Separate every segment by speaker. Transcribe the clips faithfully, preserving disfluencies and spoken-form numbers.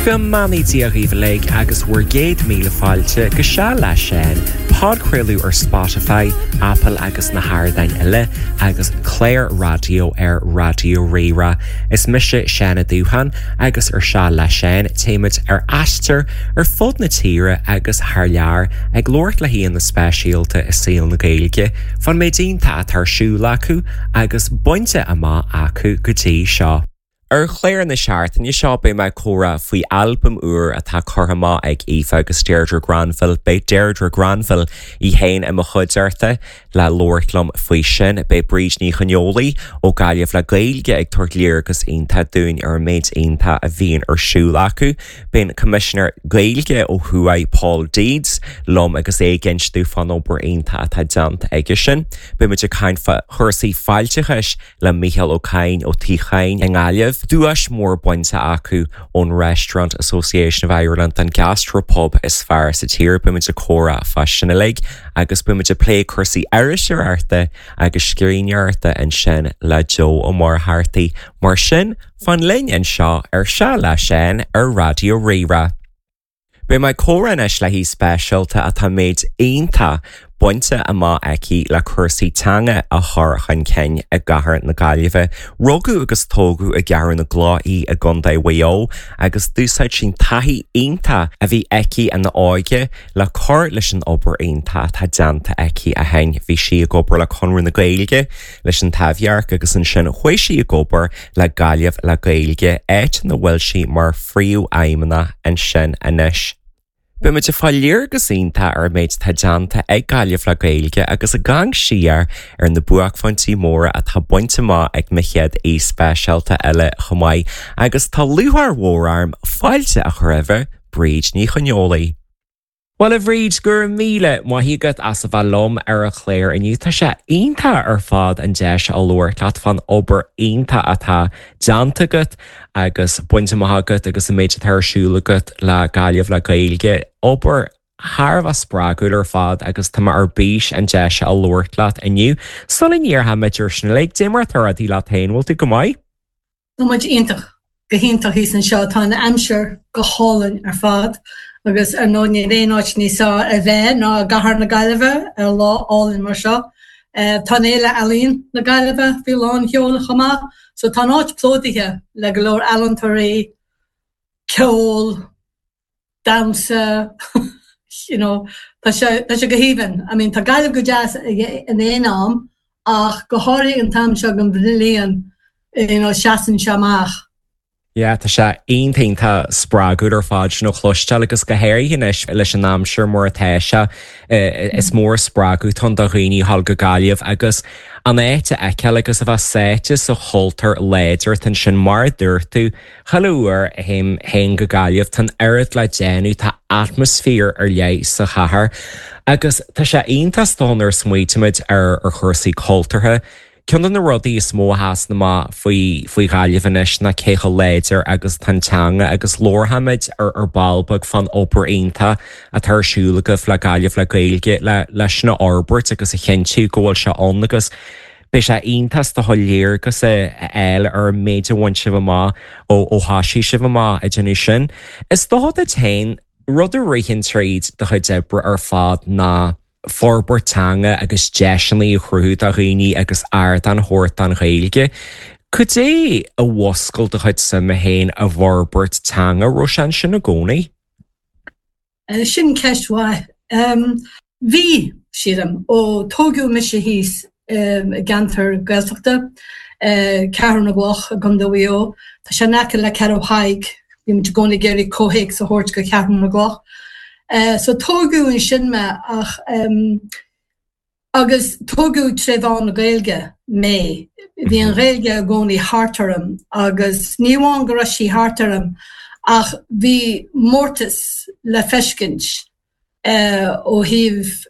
Speaker 1: Go mbeannaí Dia dhaoibh uilig agus bhur gcéad míle fáilte go Seal le Seán, podchraoladh ar Spotify, Apple agus na hardáin eile agus clár raidió ar Raidió Rí-Rá. Is mise Seán Ó Dúcháin agus ar Seal le Seán téimid ar aistear ar fud na tíre agus thar lear ag labhairt le haíonna speisialta i saol na Gaeilge, fán méid iontach atá ar siúl acu agus bainte amach acu go dtí seo. Ar chlár na seachtaine seo beidh mé ag comhrá faoi albam úr atá curtha amach ag Aoife agus Deirdre Granville, Beidh Deirdre Granville í féin i mo chuideachta le labhairt liom faoi sin, beidh Bríd Ní Choineolaí ó Gaillimh le Gaeilge ag tabhairt léargas iontach dúinn ar an méid iontach a bhíonn ar siúl acu. Beidh an Coimisinéir Gaeilge ó thuaidh Paul Deeds liom agus é ag insint dúinn fán obair iontach atá déanta aige sin. Beimid ag caint fá chúrsaí fáilteachais le Micheál Ó Cadhain ó Tigh Chadhain i nGaillimh. Duais mór bainte acu ón Restaurant Association of Ireland an gastropub is fearr sa tír beimid ag comhrá fá sin uilig agus beimid ag plé cúrsaí iriseoireachta agus scríbhneoireachta ansin le Joe Ó Muircheartaigh mar sin fan linn anseo ar Seal le Seán ar Raidió Rí-Rá. Beidh mé ag comhrá anois le haoi speisialta atá méid iontach bainte amach aici le cúrsaí teanga a chur chun cinn i gcathair na Gaillimhe. Rugadh agus tógadh i gCeathrú na gCloch í i gContae Mhaigh Eo agus d'úsáid sí an taithí iontach a bhí aici ina óige le cur leis an obair iontach atá déanta aici ó shin. Bhí sí ag obair le Conradh na Gaeilge leis an Taibhdhearc agus ansin chuaigh sí ag obair le Gaillimh le Gaeilge áit ina bhfuil sí mar phríomhfheidhmeannach ansin anois. Beimid ag fáil léargas iontach ar an méid atá déanta ag Gaillimh le Gaeilge agus ag amharc siar ar na buaicphointí móra atá bainte amach ag mo chéad aoi speisialta eile chomh maith agus tá lúcháir mhór orm fáilte a chur roimh Bríd Ní Choineolaí. Well a Bhríd go raibh míle maith agat as a bheith liom ar an chlár inniu Tá sé iontach ar fad an deis a labhairt leat fán obair iontach atá déanta agat agus bainte amach agat agus an méid atá ar siúl agat le Gaillimh le Gaeilge. Obair thar a bheith spreagúil ar fad agus tá mé ar bís an deis a labhairt leat inniu. Sula ndéarfaimid ar sin uilig, cad é mar atá rudaí leat féin bhfuil tú go maith?
Speaker 2: Tá muid iontach go hiontach thíos anseo tá an aimsir go hálainn ar fad agus ar ndóigh níl aon áit níos fearr a bheith ná i gcathair na Gaillimhe ar lá álainn mar seo. Tá an Fhéile Ealaíon na Gaillimhe faoi lán sheoil chomh maith, so tá an áit plódaithe le go leor ealaíontóirí, ceol, damhsa, you know, tá sé tá sé go haoibhinn. I mean tá Gaillimh go deas in aon am ach go háirithe an t-am seo den bhliain you know, seasann sé amach.
Speaker 1: Yeah, tá sé iontach spreagúil ar fad sin a chloisteáil agus go háirithe anois leis an aimsir mar atá sé is mór spreagadh atá ann do dhaoine a ghabháil go Gaillimh agus an áit a fheiceáil agus a bheith sáite sa chultúr láidir ansin mar a dúirt tú chuile uair a théim féin go Gaillimh tá an oiread le déanamh tá atmaisféar ar leith sa chathair agus tá sé iontach nuair a smaoinímid ar ar chúrsaí cultúrtha. Ceann de na rudaí is mó a sheasann amach faoi faoi Ghaillimh anois ná cé chomh láidir agus atá an teanga agus labharfaimid ar ar ball beag fán obair iontach atá ar siúl agaibh le Gaillimh le Gaeilge le leis sin a fhorbairt agus a chinntiú go bhfuil sé ann agus beidh sé iontach do léargas a fháil ar an méid a bhain sibh amach ó ó thosaigh sibh amach ag déanamh sin. Is dócha duit féin rud a ritheann tríd do chuid oibre ar fad ná forbairt teanga agus deiseanna a chruthú do dhaoine agus ardán a thabhairt don Ghaeilge. Cad é a mhúscail do chuid suime féin i bhforbairt teanga raibh sé ansin i gcónaí?
Speaker 2: Sin ceist mhaith. Bhí, sílim, ó tógadh mise thíos i gceantar Gaeltachta, Ceathrú na gCloch i gContae Mhaigh Eo. Tá sé in aice le Ceathrú Thaidhg, bímid i gcónaí ag iarraidh comhthéacs a thabhairt go Ceathrú na gCloch. So tógadh ansin mé ach agus tógadh tré mheán na Gaeilge mé. Bhí an Ghaeilge i gcónaí thart orm agus ní amháin go raibh sí thart orm ach bhí mórtas le feiscint ó thaobh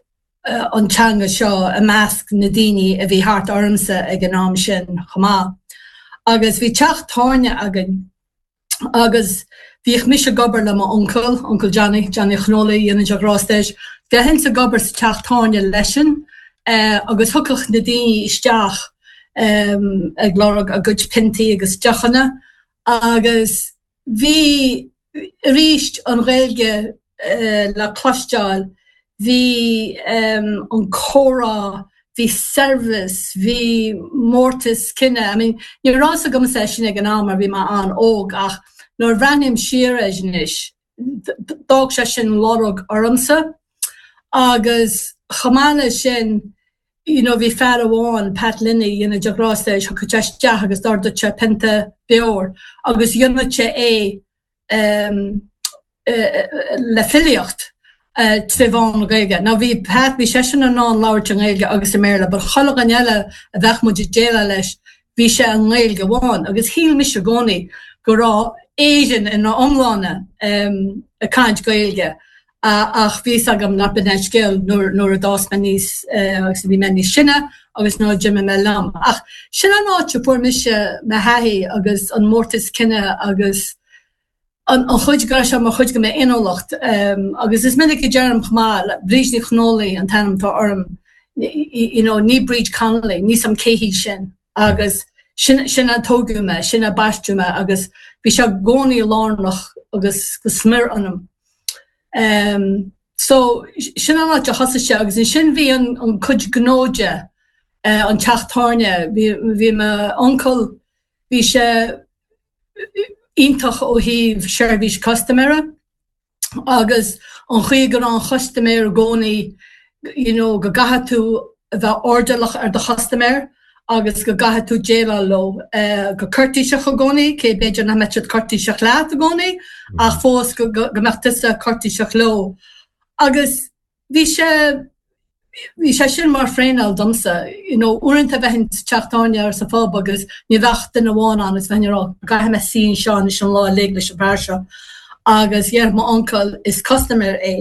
Speaker 2: an teanga seo i measc na daoine a bhí thart ormsa ag an am sin chomh maith. Agus bhí teach tábhairne againn agus bhíodh mise ag obair le m'uncail, Uncle Johnny, Johnny Ó Coineolaí, dhéanann sé grásta air. Bheinnse ag obair sa teach tábhairne leisean agus thiocfadh na daoine isteach ag lorg a gcuid piontaí agus deochanna agus bhí arís an Ghaeilge le cloisteáil, bhí an comhrá, bhí saibhreas, bhí mórtas cine. I mean, ní raibh fhios agamsa é sin ag an am mar bhí mé an-óg ach nuair a bhreathnaím siar air anois, d'fhág sé sin lorg ormsa. Agus chomh maith leis sin, you know, bhí fear amháin, Pat Linney, dhéanamh de ghrásta leis, thiocfadh sé isteach agus d'ordaigh sé pionta beoir agus dhéanadh sé é um, le filíocht trí mheán na Gaeilge. Now bhí Pat bhí seisean in ann labhairt i nGaeilge agus i mBéarla, but chuile dhuine eile a bheadh muid ag déileáil leis, bhí sé i nGaeilge amháin, agus shíl mise i gcónaí go raibh Éirinn ina iomláine um, ag caint Gaeilge. ach bhí agam nach b'in an scéal nuair a d'fhás mé níos agus bhí mé níos sine agus nuair a d'imigh mé liom. Ach sin an áit a fuair mise mo thaithí agus an mórtas cine agus an chuid go raibh sé mar chuid de m'fhéiniúlacht agus is minic a deirim chomh maith Bríd Ní Chonólaigh an t-ainm atá orm you know, ní Bríd Connolly, ní sam cé hí sin agus sin sin a tógadh mé, sin a baisteadh mé agus bhí sé i gcónaí lárnach agus go smior ionam. Um, so sin an áit a thosaigh sé agus ansin bhí an, an cuid gnó de uh, an teach tábhairne, bhí, bhí m'uncail bhí sé iontach ó thaobh seirbhís custaiméara agus an chaoi go raibh an chustaiméir i gcónaí you know, go gcaithfidh tú a bheith airdeallach ar do chustaiméir agus go gcaithfidh tú déileáil leo uh, go cúirtéiseach i gcónaí, cé b'fhéidir nach mbeadh siad cúirtéiseach leat i gcónaí ach fós go, go, go mbeadh tusa cúirtéiseach leo. Agus bhí sé bhí sé sin mar thraenáil domsa, you know, uaireanta bheinn sa teach tábhairne ar sa phub agus ní bheadh duine amháin ann is bheinn ag rá caithfidh mé suí anseo anois an lá uilig leis an bhfear seo. Agus dheir m'uncail is custaiméir é.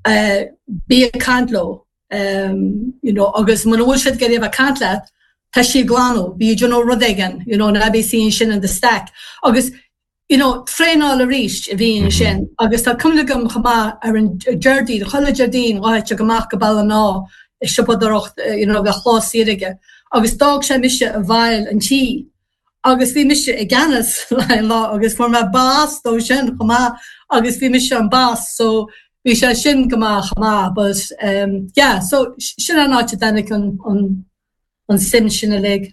Speaker 2: Uh, bí ag caint leo. Um, you know, agus muna bhfuil siad ag iarraidh bheith caint leat, tá sí glanadh, bí you know, rud éigin, you know, ná bí suí ansin in the stack. Agus you know, traenáil arís a bhí ansin agus tá cuimhne agam chomh maith ar an Déardaoin, chuile Déardaoin rachadh sé amach go Ballina i siopadóireacht you know, bheadh lá saor aige. Agus d'fhág sé mise i bhfeighil an tí. Agus bhí mise i gceannas le lá agus fuair mé bás dó sin chomh maith agus bhí mise an boss so bhí sé sin go maith chomh maith but um, yeah, so sin an áit a dtáinig an, an, an suim sin uilig.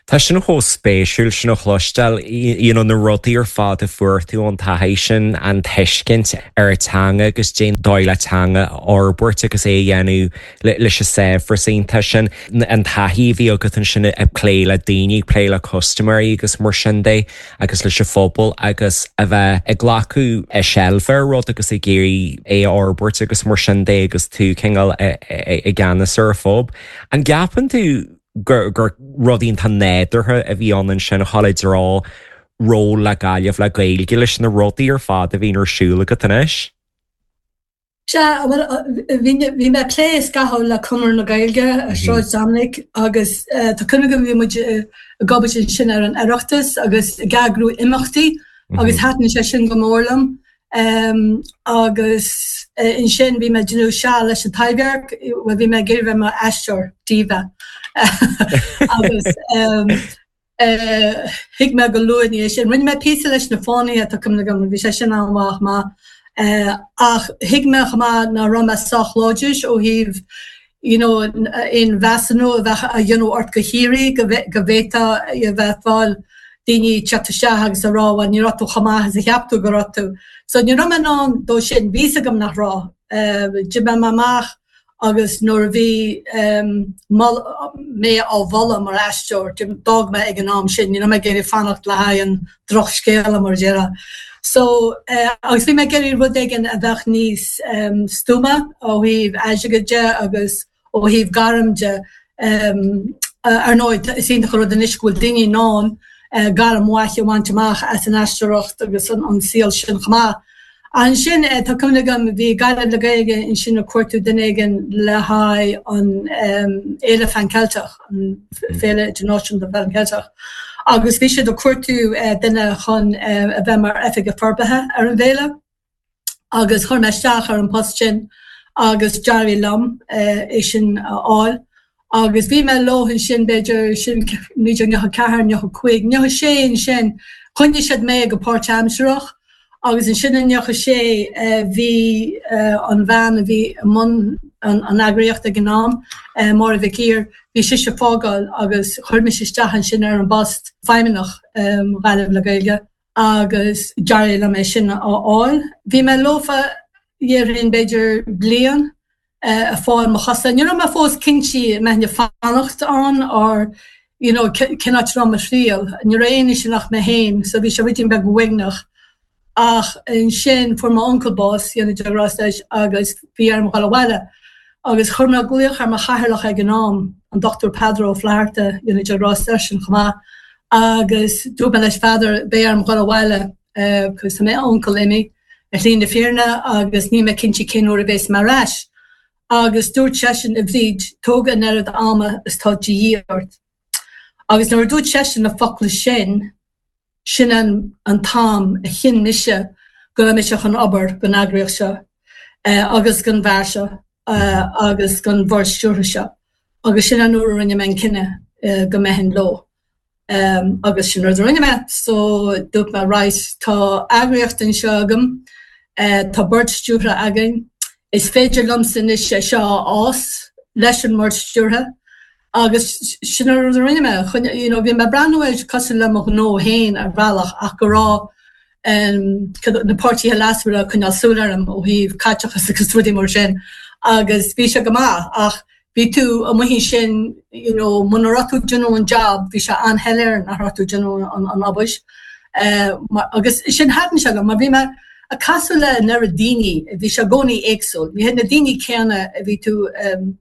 Speaker 1: Tá sin chomh spéisiúil sin a chloisteáil you know, na rudaí ar fad a fuair tú an taithí sin an tuiscint ar a teanga agus déan dóigh le teanga fhorbairt agus é dhéanamh leis an saibhreas iontach sin an taithí bhí agat ansin ag plé le daoine plé le custaiméirí agus mar sin de agus leis an phobal agus a bheith ag glacadh i seilbh ar rud agus ag iarraidh é a fhorbairt agus mar sin de agus tú cineál i gceannas ar an phub. An gceapann tú gur gur rud iontach nádúrtha a bhí ann sin chaile drá ról le Gaillimh le Gaeilge leis na rudaí ar fad a bhíonn ar siúl agat anois?
Speaker 2: Sea, bhí bhí mé plé scaitheamh le Conradh na Gaeilge ar Sráid Dominic agus tá cuimhne agam bhí muid ag obair ansin ar an Oireachtas agus ag eagrú imeachtaí agus thaitin sé sin go mór liom. Um, agus uh, ansin bhí mé ag déanamh seal leis an Taibhdhearc, well bhí mé ag iarraidh bheith mar aisteoir diva. agus um, uh, thuig mé go luath ní sin. Rinne mé píosa leis na Fánaithe tá cuimhne agam, bhí sé sin an-mhaith maith. Uh, ach thuig mé chomh maith nach raibh mé sách láidir ó thaobh you know, aon mheasúnú a bheith a dhéanamh ort go síoraí go go bhféadfá a bheith fáil daoine teacht isteach agus a rá well ní raibh tú chomh maith is a cheap tú go raibh tú. So ní raibh mé in ann dó sin, bhí fhios agam nach raibh. Uh, D'imigh mé amach agus nuair a bhí um, mé á mholadh mar aisteoir, d'fhág mé ag an am sin, ní raibh mé ag iarraidh fanacht le haghaidh an drochscéala mar a déarfá. So uh, agus bhí mé ag iarraidh rud éigin a bheadh níos um, stuama ó thaobh airgid de agus ó thaobh gairm de um, ar ndóigh is iontach an rud anois go bhfuil daoine in ann uh, gairm mhaith a bhaint amach as an aisteoireacht agus an, an saol sin chomh maith. Ansin uh, tá cuimhne agam bhí Gaillimh le Gaeilge ansin ag cuartú duine éigin le haghaidh an um, Fhéile Phan Ceilteach, an Féile Idirnáisiúnta Phan Ceilteach. Agus bhí siad ag cuartú uh, duine chun uh, a bheith mar oifigeach forbartha ar an bhféile. Agus chuir mé isteach ar an post sin agus d'éirigh liom uh, é sin a fháil. Agus bhí mé leo ansin b'fhéidir sin naoi déag nócha ceathair, nócha cúig, nócha sé ansin, choinnigh siad mé go páirtaimsearach Agus ansin i nócha sé bhí an bhean a bhí i mbun an eagraíocht ag an am, Máire Mhic Uidhir, bhí sise ag fágáil agus chuir mise isteach ansin ar an bpost feidhmeannach Ghaillimh le Gaeilge agus d'éirigh liom é sin a fháil. Bhí mé leofa déarfainn b'fhéidir bliain ag fáil mo chosa. Ní raibh mé fós cinnte an mbeinn ag fanacht ann or you know cén áit a raibh mo thriall. Ní raibh éinne ansin ach mé féin so bhí sé ruidín beag uaigneach. Ach ansin fuair m'uncail bás, go ndéana Dia grásta leis, agus bhí orm dhul abhaile. Agus chuir mé glaoch ar mo chathaoirleach ag an am, an Dochtúir Peadar Ó Flatharta, go ndéana Dia grásta leis-sean chomh maith, agus dúirt mé leis, Pheadar, beidh orm dhul abhaile cos tá m'uncail imithe ar shlí na fírinne agus níl mé cinnte cén uair a bheas mé ar ais. Agus dúirt seisean, a Bhríd, tóg an oiread ama is tá de dhíth ort. Agus nuair a dúirt seisean na focla sin, sin an an t-am a chinn mise go raibh mise chun obair don eagraíocht seo agus don bhfear seo agus don bhord stiúrtha seo agus sin an uair a rinne mé an cinneadh go mbeinn leo. Agus sin rud a rinne mé, so dúirt mé right, tá eagraíocht anseo agam, tá bord stiúrtha againn, is féidir liomsa anois é seo a fhás leis an mbord stiúrtha Agus sin an rud a rinne mé. You know, bhí mé ag breathnú air cosúil le mo ghnó féin ar bhealach ach go raibh na páirtithe leasmhara ag coinneáil súil orm ó thaobh caiteachas agus rudaí mar sin agus bhí sé go maith ach bhí tú amuigh ansin you know, muna raibh tú ag déanamh an job bhí sé an-shoiléir nach raibh tú ag déanamh an, an obair. Uh, agus sin thaitin sé liom mar bhí mé ag casadh le an oiread daoine, bhí sé i gcónaí éagsúil. Ní hiad na daoine céanna a bhí tú um,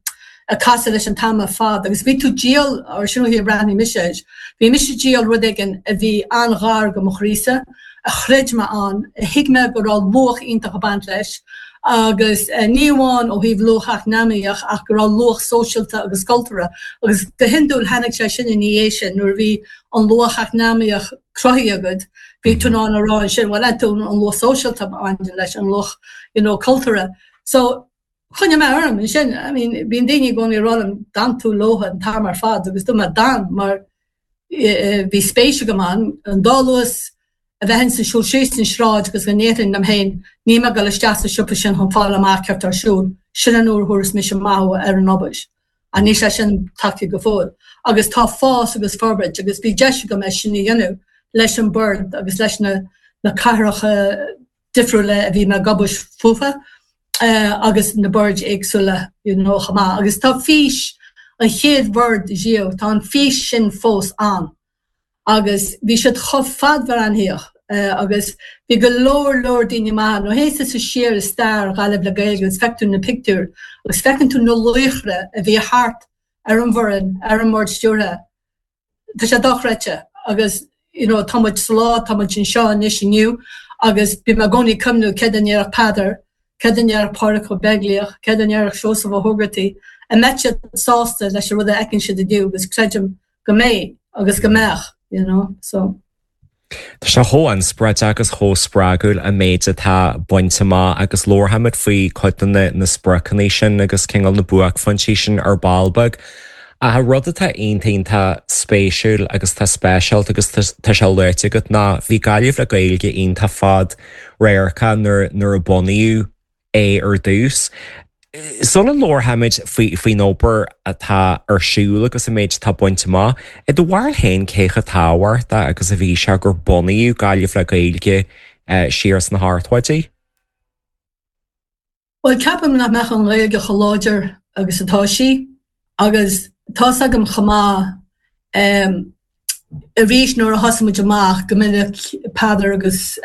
Speaker 2: ag casadh leis an t-am ar fad agus bhí tú ag díol, or sin an chaoi a bhreathnaigh mise air, bhí mise ag díol rud éigin a bhí an-ghar do mo chroísa, a chreid mé ann, a thuig mé go raibh luach iontach ag baint leis agus ní amháin ó thaobh luach eacnamaíoch ach go raibh luach sóisialta agus cultúrtha agus go hiondúil tháinig sé sin ina dhiaidh sin nuair a bhí an luach eacnamaíoch cruthaithe agat, bhí tú in ann a rá ansin bhuel an luach sóisialta a bhaineann leis, an luach you know cultúrtha. So Choinnigh mé orm ansin, I mean, bíonn daoine i gcónaí ag rá liom, d'fhan tú leo an t-am ar fad agus dúirt mé, d'fhan mar bhí spéis agam ann, an dá luas a bheinn ag siúl síos an sráid agus go ndéarfainn liom féin, níl mé ag dul isteach sa siopa sin chun fáil amach céard tá ar siúl, sin an uair a thabharfas mise maith ar an obair. Ach níl sé sin tagtha go fóill. Agus tá fás agus forbairt agus bhí deis agam é sin a dhéanamh leis an bord agus leis na na cathracha difriúla a bhí mé ag obair fúthu agus na boird éagsúla you know chomh maith. Agus tá fís an chéad bhord riamh, tá an fís sin fós ann agus bhí siad chomh fadbhreathnaitheach agus bhí go leor leor daoine maithe. Nuair a théann tusa siar i stair Ghaillimh le Gaeilge agus feiceann tú na pictiúir agus feiceann tú na laochra a bhí thart ar an bhfoireann, ar an mbord stiúrtha, tá sé dochreidte agus you know tá muid sa lá, tá muid anseo anois inniu agus bím i gcónaí ag cuimhniú céard a ndéarfadh Peadar, céard a ndéarfadh Pádraig Ó Beaglaoich, céard a ndéarfadh Seosamh Ó hÓgartaigh, an mbeadh siad sásta leis an rud a fheiceann siad inniu agus creidim go mbeidh agus go mbeadh, you know, so.
Speaker 1: Tá sé chomh inspioráideach agus chomh spreagúil an méid atá bainte amach agus labharfaimid faoi cuid de na spriocanna sin agus cineál na buaicphointí sin ar ball beag. Ach an rud atá iontach iontach spéisiúil agus tá speisialta agus tá sé luaite agat ná bhí Gaillimh le Gaeilge iontach fad-radharcach nuair a bunaíodh é ar dtús. Sula labharfaimid faoin obair atá ar siúl agus an méid atá bainte amach, i do bharúil féin cé chomh tábhachtach agus a bhí sé gur bunaíodh Gaillimh le Gaeilge siar sna hochtóidí?
Speaker 2: Bhuel, ceapaim nach mbeadh an Ghaeilge chomh láidir agus atá sí agus tá's agam chomh maith Arís nuair a thosaigh muid amach, go minic Peadar agus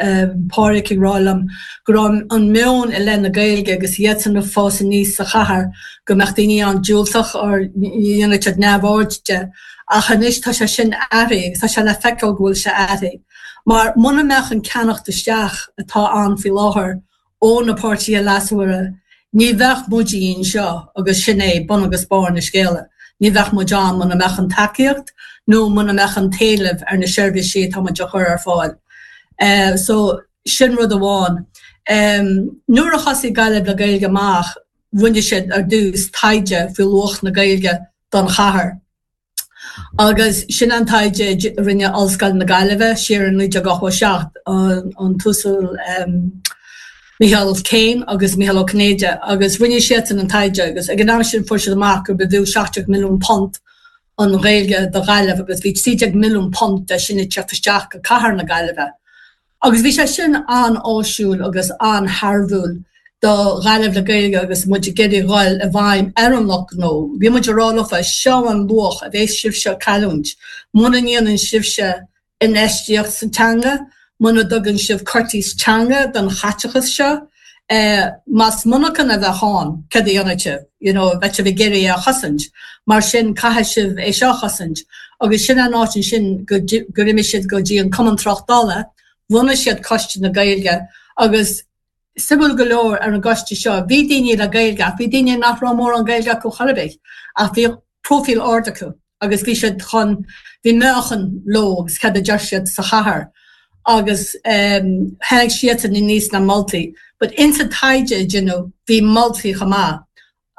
Speaker 2: Pádraic ag rá liom go raibh an meon i leith na Gaeilge agus iadsan ag fás aníos sa chathair go mbeadh daoine an-diúltach or dhéanfadh siad neamhaird de ach anois tá sé sin athraithe agus tá sé le feiceáil go bhfuil sé athraithe. Mar muna mbeadh an ceannacht isteach atá ann faoi láthair ó na páirtithe leasmhara, ní bheadh muide anseo agus sin é bun agus barr na scéala. Ní bheadh muid ann muna mbeadh an tacaíocht nó muna mbeadh an t-éileamh ar na seirbhísí atá muid a chur ar fáil. So, sin rud amháin. Nuair a thosaigh Gaillimh le Gaeilge amach, rinne siad ar dtús taighde faoi luach na Gaeilge don chathair. Agus sin an taighde a rinne Ollscoil na Gaillimhe siar in naoi déag ochtó a seacht, an tUasal Micheál Kane agus Mícheál Ó Cinnéide, agus rinne siadsan an taighde agus ag an am sin fuair siad amach gur b'fhiú seacht déag milliún punt an Ghaeilge do Ghaillimh agus bhí trí déag milliún punt de sin ag teacht isteach go cathair na Gaillimhe. Agus bhí sé sin an-áisiúil agus an-thairbhiúil do Ghaillimh le Gaeilge agus muid ag iarraidh dhul i bhfeidhm ar an lucht gnó. Bhí muid ag rá leofa, seo an luach a bheas sibhse ag cailliúint muna ndéanann sibhse infheistíocht sa teanga, muna dtugann sibh curtas teanga don chaiteachas seo. Más monarchan a bheadh ann, cad a dhéanfadh sibh? You know, bheadh sibh ag iarraidh é a chosaint. Mar sin, caithfidh sibh é seo a chosaint. Agus sin an áit ansin gur imigh siad go dtí an Cumann Tráchtála, bhunaigh siad Coiste na Gaeilge agus suimiúil go leor ar an gcoiste seo, bhí daoine le Gaeilge ach bhí daoine nach raibh mórán Gaeilge acu chor ar bith ach bhí próifíl ard acu agus bhí siad chun, bhí meáchan leo agus cad a deir siad sa chathair agus tháinig siadsan aníos le moltaí. But insa taighde a deineadh bhí moltaí chomh maith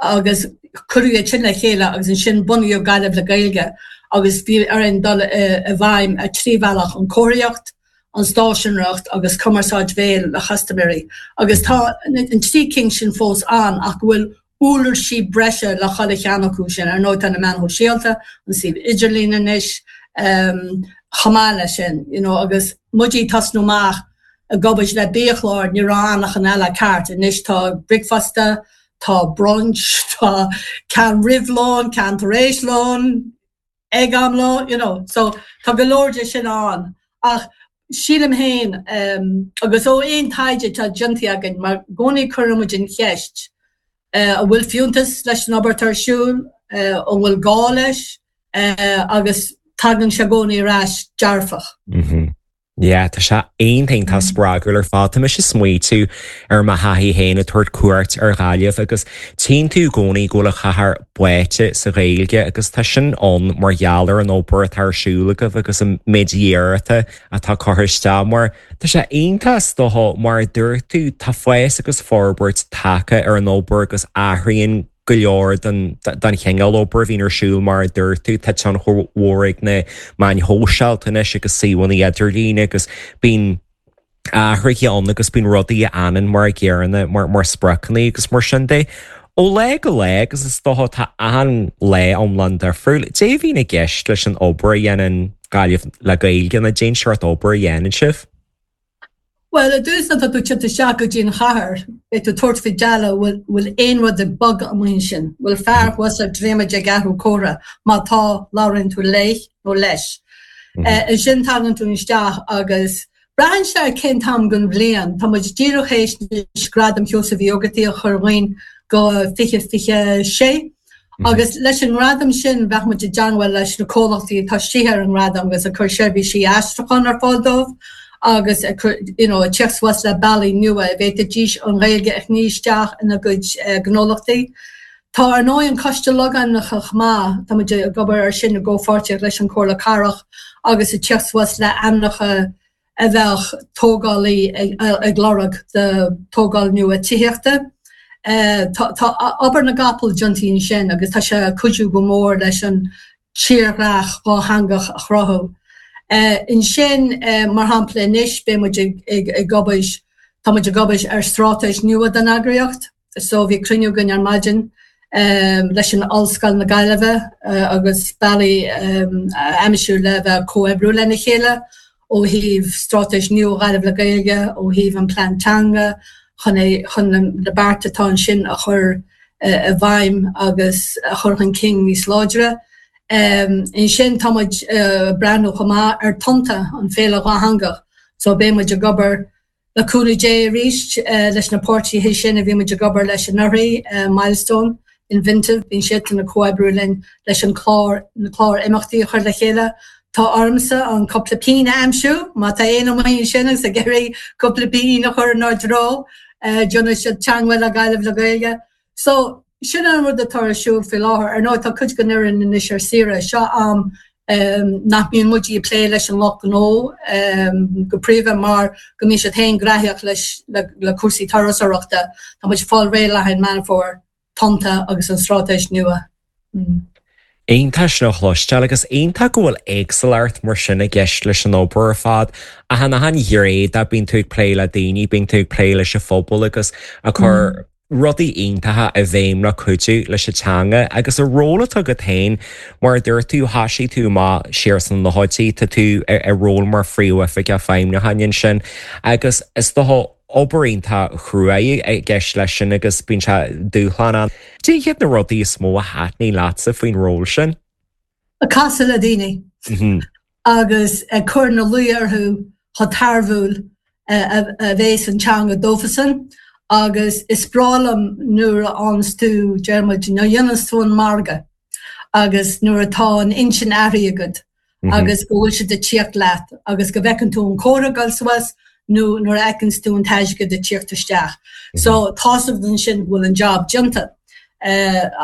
Speaker 2: agus cuireadh iad sin le chéile agus ansin bunaíodh Gaillimh le Gaeilge agus bhí orainn dul i bhfeidhm ar trí bhealach, an chomharthaíocht, an stáisiúnóireacht agus cumarsáid bhéil le custaiméirí. Agus tá an trí cinn sin fós ann ach go bhfuil uirlisí breise le chuile cheann acu sin. Ar ndóigh tá na meáin shóisialta, an suíomh idirlín anois chomh maith leis sin, you know, agus muid ag tosnú amach ag obair le biachlár, ní raibh anachan eile ceart. Anois tá bricfeasta, tá brunch, tá ceann roimh lón, ceann tar éis lón, ag am lóin, you know. So tá go leor de sin ann. Ach sílim féin, agus ó aon taighde atá déanta againn, mar i gcónaí cuireann muid an cheist, an bhfuil fiúntas leis an obair atá ar siúl, an bhfuil gá leis, agus tagann sé i gcónaí ar ais dearfach.
Speaker 1: Yeah, tá sé iontach spreagúil ar fad. Tá mise ag smaoitiú ar mo thaithí féin ag tabhairt cuairt ar Ghaillimh agus tchíonn tú i gcónaí go bhfuil an chathair báite sa Ghaeilge agus tá sin ann mar gheall ar an obair atá ar siúl agaibh agus an méid iarrachta atá curtha isteach mar tá sé iontach is dócha mar a dúirt tú tá fás agus forbairt tagtha ar an obair agus athraíonn go leor den den chineál obair a bhíonn ar siúl mar a dúirt tú, tá tionchar mhór ag na meáin shóisialta anois agus suíomhanna idirlín agus bíonn athruithe ann agus bíonn rudaí a fhanann mar a gcéanna mar mar spriocanna agus mar sin de. Ó lá go lá agus is dócha tá achan lá iomlán difriúil, cad é a bhíonn i gceist leis an obair a dhéanann Gaillimh le Gaeilge nó cén sórt obair a dhéanann sibh?
Speaker 2: Bhuel, i dtús nuair atá tú ag teacht isteach go dtí an chathair, beidh tú ag tabhairt faoi deara bhfuil bhfuil aon rud ag bogadh amuigh ansin, bhfuil fear thuas ar dromaid ag athrú comhartha, má tá, labhraíonn tú léi nó leis. Ansin tagann tú isteach agus braitheann sé ar cén t-am den bhliain, tá muid díreach théis anois Gradam Sheosaimh Uí Ógartaigh a chur dhúinn go fiche fiche sé, Agus leis an ngradam sin, bheadh muid i dteangmháil leis na comhlachtaí atá istigh ar an ngradam agus ag cur seirbhísí aistriúcháin ar fáil dóibh agus ag cur, you know, ag teacht suas le bealaí nua a bhféadfaidís an Ghaeilge a shní isteach ina gcuid gnólachtaí. Tá ar ndóigh an Coiste Logainmneacha chomh maith, tá muid ag obair air sin i gcomhpháirtíocht leis an Chomhairle Cathrach agus ag teacht suas le ainmneacha a bheadh tógálaí ag lorg do tógáil nua tithíochta. Tá obair na gcapall déanta ansin agus tá sé ag cuidiú go mór leis an tírdhreach dhátheangach a chruthú. Ansin, mar shampla, anois beidh muid ag obair, tá muid ag obair ar straitéis nua don eagraíocht. So bhí cruinniú againn ar maidin leis an Ollscoil na Gaillimhe agus bealaí a aimsiú le bheith ag comhoibriú lena chéile ó thaobh straitéis nua Ghaillimh le Gaeilge, ó thaobh an plean teanga, chun é, chun na bearta atá ansin a chur i bhfeidhm agus a chur chun cinn níos láidre. Ansin tá muid ag breathnú chomh maith ar Tonnta, an féile dhátheangach, so beidh muid ag obair Le cúnamh Dé arís, leis na páirtithe sin a bhí muid ag obair leis anuraidh, Milestone, Inventive, bíonn siadsan ag comhoibriú linn leis an clár, na cláir imeachtaí a chur le chéile. Tá ormsa an cúpla pingin a aimsiú, má tá éinne amuigh ansin agus ag iarraidh cúpla pingin a chur inár dtreo, déanfaidh siad teangmháil le Gaillimh le Gaeilge. So, sin an rud atá ar siúl faoi láthair. Ar ndóigh, tá cuid den fhoireann anois ar saoire. Seo am nach mbíonn muid ag plé leis an lucht gnó go príomha mar go mbíonn siad féin graitheach leis le cúrsaí turasóireachta. Tá muid ag fáil réidh le haghaidh Meán Fómhair, Tonnta agus an straitéis nua.
Speaker 1: Iontach sin a chloisteáil agus iontach go bhfuil éagsúlacht mar sin i gceist leis an obair ar fad. Achan achan ghné de bíonn tú ag plé le daoine, bíonn tú ag plé leis an phobal agus ag cur rudaí iontacha i bhfeidhm le cuidiú leis an teanga agus an ról atá agat féin mar a dúirt tú thosaigh tú amach siar sna nóchaidí tá tú i ról mar phríomhoifigeach feidhmiúcháin ansin agus is dócha obair iontach chrua i gceist leis sin agus bíonn sé dúshlánach. Cad iad na rudaí is mó a thaitníonn leatsa faoin ról sin?
Speaker 2: Ag casadh le daoine agus ag cur ina luí orthu chomh tairbhiúil a bhéas an teanga dófasan agus is breá liom nuair a fhaigheanns tú, deir muid, nuair a dhéananns tú an margadh agus nuair atá an intinn athraithe agat agus go bhfuil siad ag tíocht leat agus go bhfeiceann tú an comhrá ag dul suas nó nuair a fheiceanns tú an t-airgead ag tíocht isteach. So tá's agat ansin go bhfuil an job déanta.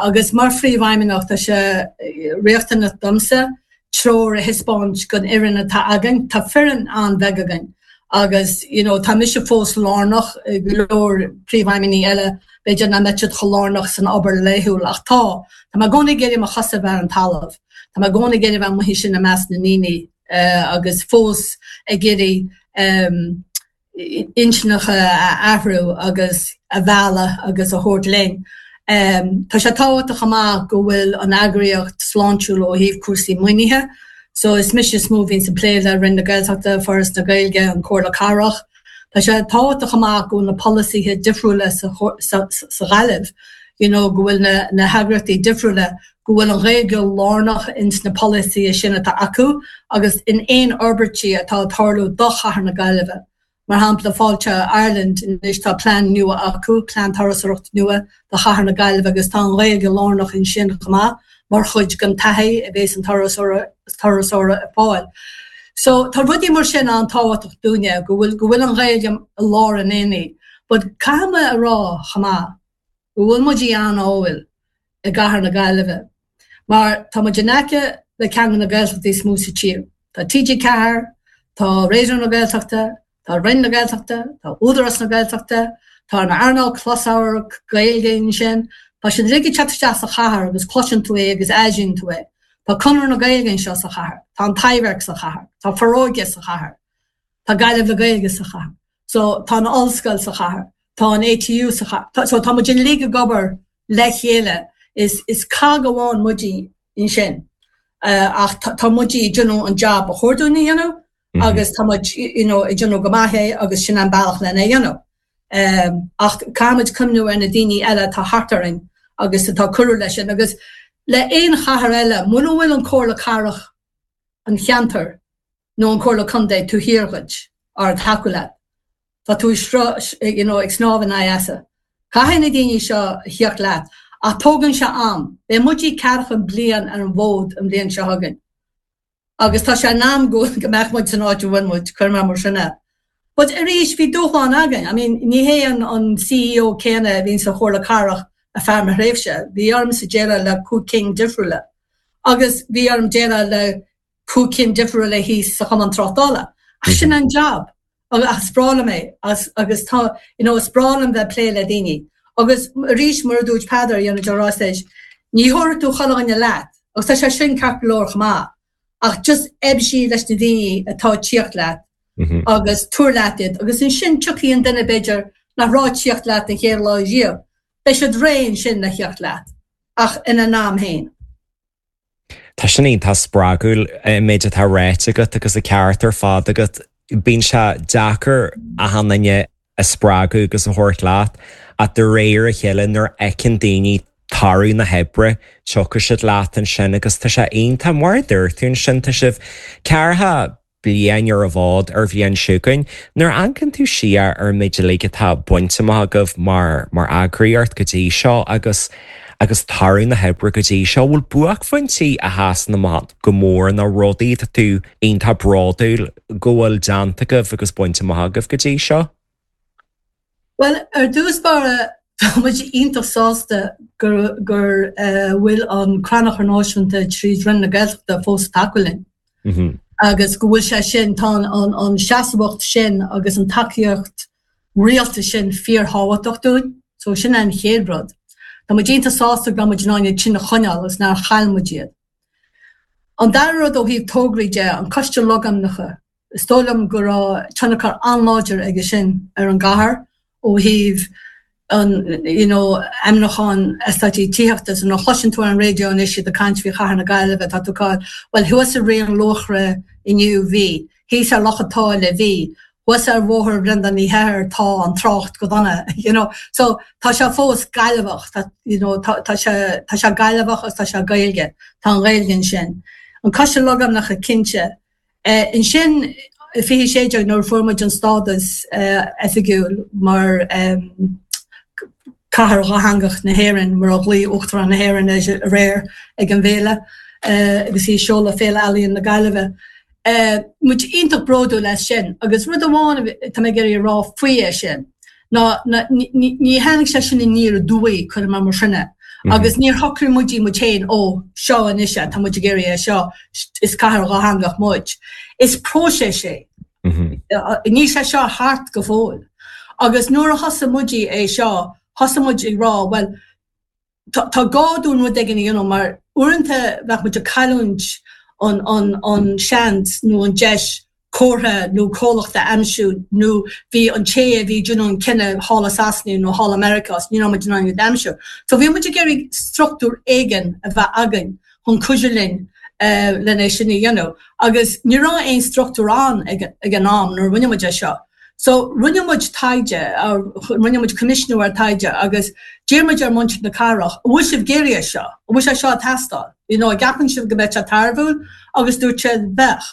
Speaker 2: Agus mar phríomhfheidhmeannach tá sé riachtanach domsa treoir a thaispeáint don fhoireann atá againn. Tá foireann an-bheag againn agus you know tá mise fós lárnach, go leor príomhfheidhmeannaigh eile b'fhéidir nach mbeadh siad chomh lárnach san obair laethúil ach tá, tá mé i gcónaí ag iarraidh mo chosa a bheith ar an talamh, tá mé i gcónaí ag iarraidh bheith amuigh ansin i measc na ndaoine agus fós ag iarraidh intinneacha a athrú agus a mhealladh agus a thabhairt linn. Tá sé tábhachtach chomh maith go bhfuil an eagraíocht sláintiúil ó thaobh cúrsaí maoinithe. So is mise is mó a bhíonns ag plé le Roinn na Gaeltachta, Foras na Gaeilge, an Chomhairle Cathrach. Tá sé tábhachtach chomh maith go bhfuil na polasaithe difriúla sa sa Ghaillimh, you know, go bhfuil na na heagraíochtaí difriúla, go bhfuil an Ghaeilge lárnach ins na polasaithe sin atá acu agus in aon fhorbairtí atá ag tarlú do chathair na Gaillimhe. Mar shampla, Fáilte Ireland, anois tá plean nua acu, plean turasóireachta nua do chathair na Gaillimhe agus tá an Ghaeilge lárnach ansin chomh maith mar chuid den taithí a bhéas an turasóir ag fáil. So tá rudaí mar sin an-tábhachtach dúinne, go bhfuil go bhfuil an Ghaeilge i lár an aonaigh. But caithfidh mé a rá chomh maith go bhfuil muid an-ádhúil i gcathair na Gaillimhe mar tá muid in aice le ceann de na Gaeltachtaí is mó sa tír. Tá T G ceathair, tá Raidió na Gaeltachta, tá Roinn na Gaeltachta, tá Údarás na Gaeltachta, tá an earnáil closamhairc Gaeilge ansin, tá siad uilig ag teacht isteach sa chathair agus cloiseann tú é agus airíonn tú é. Tá Conradh na Gaeilge anseo sa chathair, tá an Taibhdhearc sa chathair, tá Foróige sa chathair, tá Gaillimh le Gaeilge sa chathair. So tá an ollscoil sa chathair, tá an A T U sa chathair. So tá muid uilig ag obair le chéile. Is is cog amháin muid ansin. Ach tá muid ag déanamh an job ba chóir dúinn a dhéanamh agus tá muid you know ag déanamh go maith é agus sin an bealach lena dhéanamh. Ach caithfimid cuimhniú ar na daoine eile atá thart orainn agus atá ag cuidiú leis sin agus le aon chathair eile muna bhfuil an Comhairle Cathrach an cheantair nó an Comhairle Contae taobh thiar dhuit ar ag tacú leat, tá tú you know ag snámh in aghaidh easa. Caithfidh na daoine seo a thíocht leat ach tógann sé am. Beidh muid ceathracha bliain ar an bhfód an bhliain seo chugainn. Agus tá sé in am go go mbeadh muid san áit a bhfuil muid, cuir mé mar sin é. But arís bhí dúshlán againn. I mean ní hé an an C E O céanna a bhíonn sa Chomhairle Cathrach ar feadh mo thréimhse. Bhí ormsa déileáil le cúig cinn difriúla. Agus bhí orm déileáil le cúig cinn difriúla thíos sa Chumann Tráchtála. Ach sin an job. Ach is breá liom é agus tá you know is breá liom bheith ag plé le daoine. Agus arís mar a dúirt Peadar you know Roiséis, ní thabharfaidh tú chuile dhuine leat agus tá sé sin ceart go leor chomh maith. Ach just oibrigh leis na daoine atá ag tíocht leat agus tabhair leat iad agus ansin tiocfaidh an duine b'fhéidir nach raibh ag tíocht leat an chéad lá riamh, beidh siad réidh ansin le theacht leat ach ina n-am féin.
Speaker 1: Tá sin iontach spreagúil an méid atá ráite agat agus an ceart ar fad agat. Bíonn sé deacair achan duine a spreagadh agus a thabhairt leat ach de réir a chéile nuair a fheiceann daoine toradh na hoibre tiocfaidh siad leat ansin agus tá sé iontach mar a dúirt tú ansin tá sibh ceathracha bliain ar an bhfód ar an bhliain seo chugainn. Nuair a amharcann tú siar ar an méid uilig atá bainte amach agaibh mar mar eagraíocht go dtí seo agus agus toradh na hoibre go dtí seo, bhfuil buaicphointí a sheasann amach go mór nó rudaí atá tú iontach bródúil go bhfuil déanta agaibh agus bainte amach agaibh go dtí seo?
Speaker 2: Bhuel, ar dtús báire tá muid iontach sásta gur gur bhfuil an Crannchur Náisiúnta tríd Roinn na Gaeltachta fós ag tacú linn. Agus go bhfuil sé sin, tá an an seasmhacht sin agus an tacaíocht rialtais sin fíorthábhachtach dúinn. So sin an chéad rud. Tá muid iontach sásta go raibh muid in ann iad sin a choinneáil agus nár chaill muid iad. An dara rud ó thaobh tograí de an Coiste Logainmneacha, is dóigh liom go raibh tionchar an-láidir aige sin ar an gcathair ó thaobh an you know ainmniúchán eastáití tithíochta so nuair a chloiseann tú ar an raidió anois iad ag caint faoi chathair na Gaillimhe tá tú ag bhuel thuas i Raon Luachra inniu bhí, thíos ar Loch an tSáile bhí, thuas ar Bhóthar Bhreandáin Uí Heithir tá an trácht go dona you know so tá sé fós Gaillimheach tá you know tá tá sé tá sé Gaillimheach agus tá sé Gaeilge tá an Ghaeilge ansin. An Coiste Logainmneacha cinnte. Eh, ansin fiche sé déag nuair a fuair muid an stádas eh, oifigiúil mar um, cathair dhátheangach na hÉireann mar a ghlaoigh Uachtarán na hÉireann aréir ag an bhféile uh, agus í ag seoladh Féile Ealaíon na Gaillimhe. Uh, muid iontach bródúil as sin, agus rud amháin tá mé ag iarraidh rá faoi é sin. Ná ní tháinig sé sin aniar aduaidh chuir mar mar sinne. Mm -hmm. Agus níor shocraigh muid muid féin ó seo anois tá muid ag iarraidh é seo is cathair dhátheangach muid. Is próiseas é. Mm -hmm. Níl sé seo thart go fóill. Agus nuair a thosaigh muid é seo thosaigh muid ag rá well tá gá dúinn rud éigin a dhéanamh mar uaireanta bheadh muid ag cailliúint an, an, an seans nó an deis comhartha nó comhlacht a aimsiú nó bhí an té a bhí déanamh an cinneadh thall i Sasana nó thall i Meiriceá ní raibh muid in ann aimsiú. So bhí muid ag iarraidh struchtúr éigin a bheith againn chun cuidiú linn uh, lena sin a dhéanamh. Agus ní raibh aon struchtúr ann ag, ag an am nuair rinne muid é seo. So rinne muid taighde rinne muid coimisiún ar taighde agus d'iarr muid ar mhuintir na cathrach, bhfuil sibh ag iarraidh seo, bhfuil sé seo teastáil. You know, gceapann sibh go mbeadh sé tairbhiúil agus dúirt siad bheadh.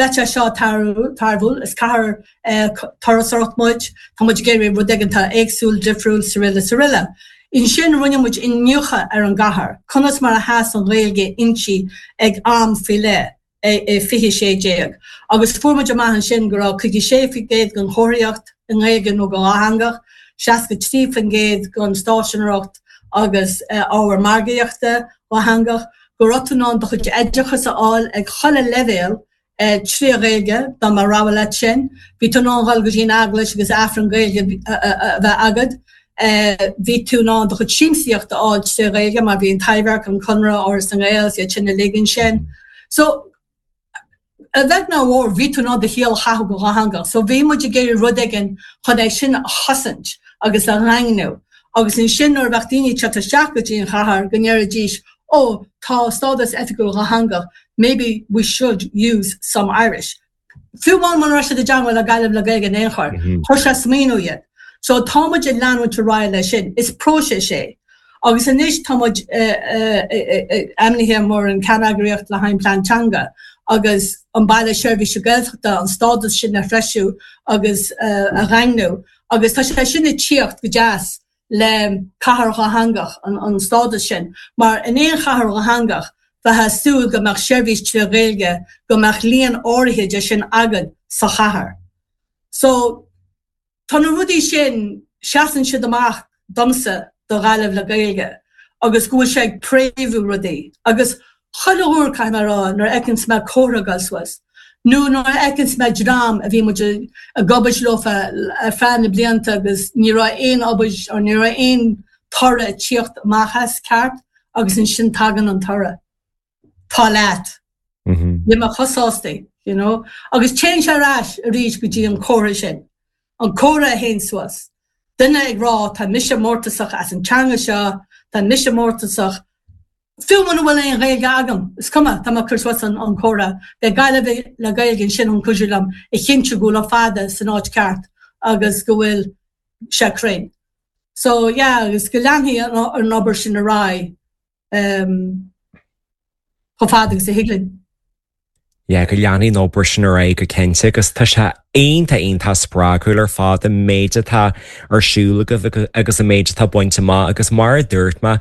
Speaker 2: Bheadh sé seo tairbhiúil is cathair eh, turasóireachta muid, Tá muid ag iarraidh rud éigin éagsúil difriúil is araile is araile. Ansin rinne muid iniúchadh ar an gcathair, conas mar a sheas an Ghaeilge inti ag am faoi leith. é fiche sé déag. Agus fuair muid amach ansin go raibh caoga sé faoin gcéad den chomharthaíocht i nGaeilge nó go dhátheangach, seasca trí faoin gcéad den stáiseanóireacht agus ábhar margaíochta dhátheangach, go raibh tú in ann do chuid oideachas a fháil ag chuile leibhéal trí Ghaeilge dá mba rogha leat sin. Bhí tú in ann dul go dtí an eaglais agus Aifreann Gaeilge a bheith agat. Bhí tú in ann do chuid siamsaíocht a fháil trí Ghaeilge mar bhí an Taibhdhearc, an Conradh, Áras na nGael, iad sin uilig ansin. So a bheag nó a mhór bhí tú in ann do shaol a chaitheamh go dhátheangach, so bhí muid ag iarraidh rud éigin chun é sin a chosaint agus a dhaingniú. Agus ansin nuair a bheadh daoine ag teacht isteach go dtí an chathair go ndéarfaidís ó tá stádas oifigiúil dhátheangach, maybe we should use some Irish. Fiú amháin mura raibh siad i dteagmháil le Gaillimh le Gaeilge in aon chor, chuir sé smaoineamh iad. So tá muid ag leanúint ar aghaidh leis sin. Is próiseas é. Agus anois tá muid ainmnithe mar an ceanneagraíocht le haghaidh plean teanga agus an Baile Seirbhíse Gaeltachta an stádas sin a threisiú agus a dhaingniú. Agus tá sé sin ag tíocht go deas le cathair dhátheangach an, an stádas sin, mar in aon chathair dhátheangach bheifeá ag súil go mbeadh seirbhís trí Ghaeilge go mbeadh líon áirithe de sin agat sa chathair. So tá na rudaí sin seasann siad amach domsa do Ghaillimh le Gaeilge agus go bhfuil sé ag préamhú rudaí agus chuile uair caithfidh mé rá nuair a fheiceann mé comhartha ag dul suas. Nó nuair a fheiceann mé dream a bhí muid ag obair leofa ar feadh na blianta agus ní raibh aon obair or ní raibh aon toradh ag tíocht amach as ceart agus ansin tagann an toradh. Tá leat. Ní mé chosástaí, you know? Agus téann sé ar ais arís go dtí an comhartha sin. An comhartha a théann suas. Duine ag rá tá mise mórtasach as an teanga seo, tá mise mórtasach Fiú muna bhfuil aon Ghaeilge agam, is cuma tá mé ag cur suas an, an comhartha, Beidh Gaillimh le Gaeilge ansin chun cuidiú liom a chinntiú go bhfuil an fada san áit ceart agus go bhfuil sé cruinn. So yeah, agus go leanfaidh an, an obair sin ar aghaidh um, chomh fada agus a thig linn.
Speaker 1: Yeah, go leanfaidh an obair sin ar aghaidh go cinnte agus tá sé iontach iontach spreagúil ar fad an méid atá ar siúl agaibh agus an méid atá bainte amach agus mar a dúirt mé,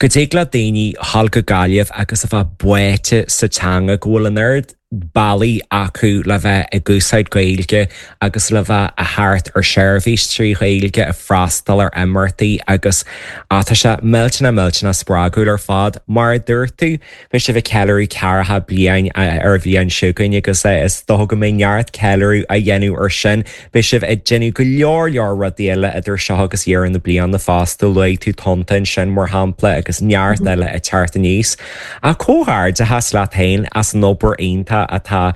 Speaker 1: go dtig le daoine dul go Gaillimh agus a bheith báite sa teanga go bhfuil an oiread bealaí acu le bheith ag úsáid Gaeilge agus le bheith a theacht ar seirbhís trí Ghaeilge ag freastal ar imeachtaí agus tá sé millteanach millteanach spreagúil ar fad. Mar a dúirt tú, beidh sibh ag ceiliúradh ceathracha bliain ar an bhliain seo chugainn agus is dócha go mbeidh neart ceiliúradh á dhéanamh ar sin. Beidh sibh ag déanamh go leor leor rudaí eile idir seo agus dheireadh na bliana fosta luaigh tú Tonnta ansin mar shampla agus neart eile ag teacht aníos. Ach comhghairdeachas leat féin as an obair iontach atá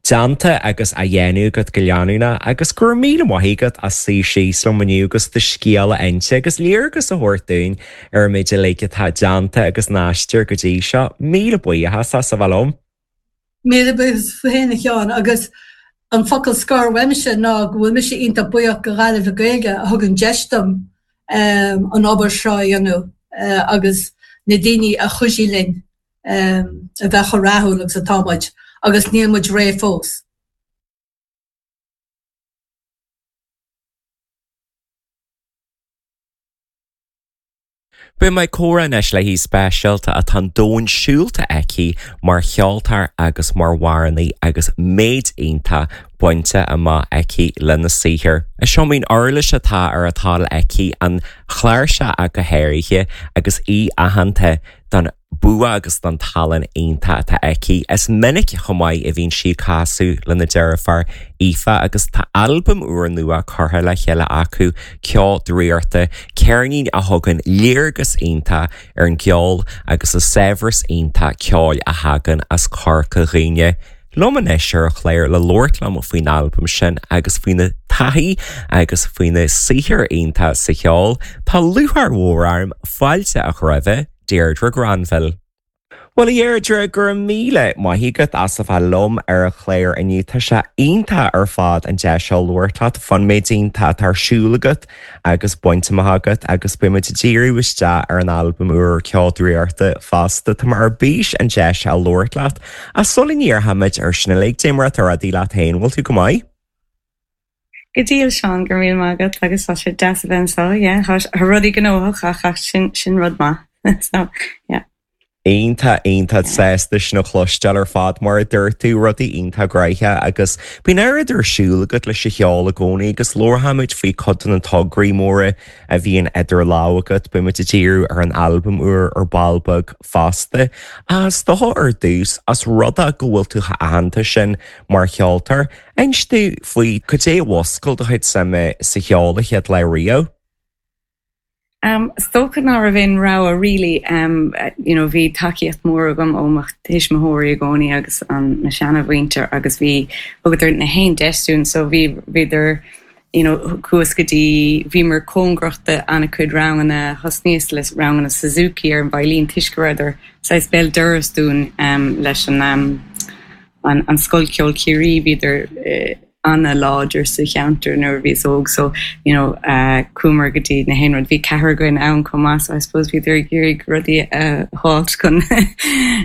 Speaker 1: déanta agus á dhéanamh agat go leanúnach agus go raibh míle maith agat as suí síos liom inniu agus do scéal a inse agus léargas a thabhairt dúinn ar an méid uilig atá déanta agus an aistear go dtí seo. Míle buíochas as a bheith liom.
Speaker 2: Míle buíochas féin a Sheáin agus an focal scoir uaimse ná go bhfuil mise iontach buíoch go Gaillimh le Gaeilge a thugann deis dom um, an obair seo a dhéanamh uh, agus na daoine a chuidigh linn um, a bheith chomh rathúil agus atá muid agus níl muid réidh fós.
Speaker 1: Beidh mé ag comhrá anois le haoi speisialta atá an domhan siúlta aici mar cheoltóir agus mar amhránaí agus méid iontach bainte amach aici lena saothar. Is iomaí uirlis atá ar a toil aici an chláirseach ach go háirithe agus í aitheanta don bua agus don tallann iontach atá aici. Is minic chomh maith a bhíonn sí ag casadh lena deirfiúr Aoife agus tá albam úr nua curtha le chéile acu, Ceol Draíochta, ceirnín a thugann léargas iontach ar an gceol agus an saibhreas iontach ceoil a thagann as Corca Dhuibhne. Liom anois ar an chlár le labhairt liom faoin albam sin agus faoina taithí agus faoina saothar iontach sa cheol, tá lúcháir mhór orm fáilte a chur roimhe, Deirdre Granville. Bhuel a Dheirdre, go raibh míle maith agat as a bheith liom ar an chlár inniu. Tá sé iontach ar fad an deis seo labhairt leat faoin méid iontach atá ar siúl agat agus bainte amach agat agus beidh muid ag díriú isteach ar an albam úr Ceol Draíochta fosta. Tá mé ar bís an deis a labhairt leat. Ach sula ndíreoimid ar sin uilig, cad é mar atá rudaí leat féin, bhfuil tú go maith?
Speaker 3: Go diail Seán go raibh míle maith agat agus tá sé deas a bheith anseo, yeah. Tá rudaí gnóthach ach ach sin sin rud maith. So, yeah.
Speaker 1: Iontach iontach sásta sin a chloisteáil ar fad mar a dúirt tú rudaí iontach gnoitheach agus bíonn oiread ar siúl agat leis an cheol i gcónaí agus labharfaimid faoi cuid de na tograí móra a bhíonn idir lámha agat, beimid ag díriú ar an albam úr ar ball beag fosta. Is dócha ar dtús as rud é go bhfuil tú chomh aitheanta sin mar cheoltóir, inis dom faoi cad é a mhúscail do chuid suime sa cheol an chéad lá riamh.
Speaker 3: Um, is dócha ná raibh aon rogha really um, you know, bhí tacaíocht mór agam ó mo thuismitheoirí i gcónaí agus an na seanamhuintir agus bhí thugadar na haon deis dúinn so bhí bhíodar you know, chuas go dtí bhíomar cóngarach do an-chuid ranganna thosnaíos le ranganna Suzuki ar an veidhlín toisc go rabhadar saghas béal dorais dúinn um, leis an um, an, an Scoil Ceoil Chiarraí bhíodar uh, an-láidir sa cheantar nuair a bhíos óg so you know uh, chuamar go dtí na haon rud bhí ceathrar againn ann chomh maith so I suppose bhíodar ag iarraidh rudaí a fháilt chun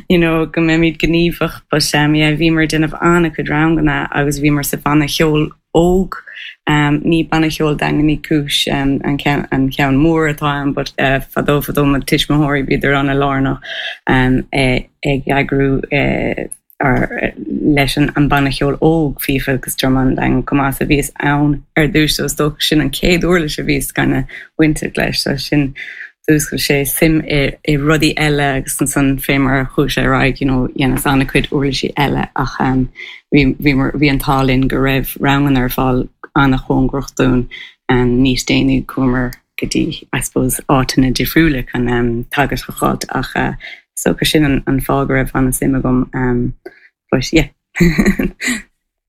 Speaker 3: you know go mbeimid gníomhach but um, yeah, bhíomar ag déanamh an-chuid ranganna agus bhíomar sa bhanna cheoil óg um, ní banna cheoil Daingean Uí Chúis um, an ceann an ceann mór atá ann but uh, fadó fadó mo tuismitheoirí bhíodar an-lárnach um, eh, ag eagrú eh, ar leis an an banna cheoil óg FIFA agus Druman Daingean chomh maith a bhíos ann ar dtús so is dócha sin an chéad uirlis a bhíos kind bainteach leis so sin d'fhúscail sé suim i, i rudaí eile agus ansan fé mar a chuaigh sé ar aghaidh you know, dhéanas an-chuid uirlisí eile ach um, bhí bhí bhí an t-ádh linn go raibh ranganna ar fáil an-chóngarach dúinn um, níos déanaí chuamar go dtí I suppose áiteanna difriúla chun um, teagasc a fháilt ach uh, so go sin an, an fáth go raibh an-suim agam um, but yeah.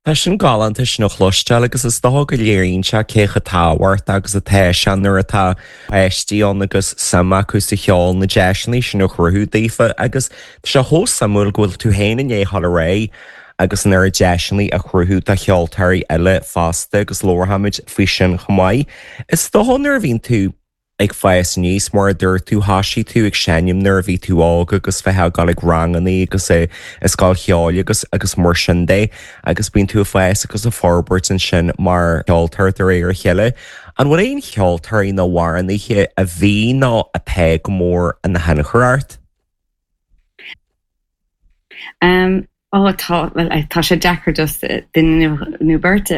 Speaker 1: Tá sin galánta sin a chloisteáil agus is dócha go léiríonn sé cé chomh tábhachtach agus atá sé nuair atá páistí ann agus suim acu sa cheol na deiseanna sin a chruthú daofa agus tá sé chomh suimiúil go bhfuil tú féin i ndiaidh dul ar aghaidh agus an oiread deiseanna a chruthú do cheoltóirí eile fosta agus labharfaimid faoi sin chomh maith. Is dócha nuair a bhíonn tú ag fás aníos mar a dúirt tú thosaigh tú ag seinm nuair a bhí tú óg agus bheith ag dul ag ranganna agus i scoil cheoil agus agus mar sin de agus bíonn tú ag fás agus ag forbairt ansin mar cheoltóir de réir a chéile. An bhfuil aon cheoltóirí nó amhránaithe a bhí nó atá go mór ina thionchar ort?
Speaker 3: Um, Ó tá well, tá sé deacair just duine nó beirt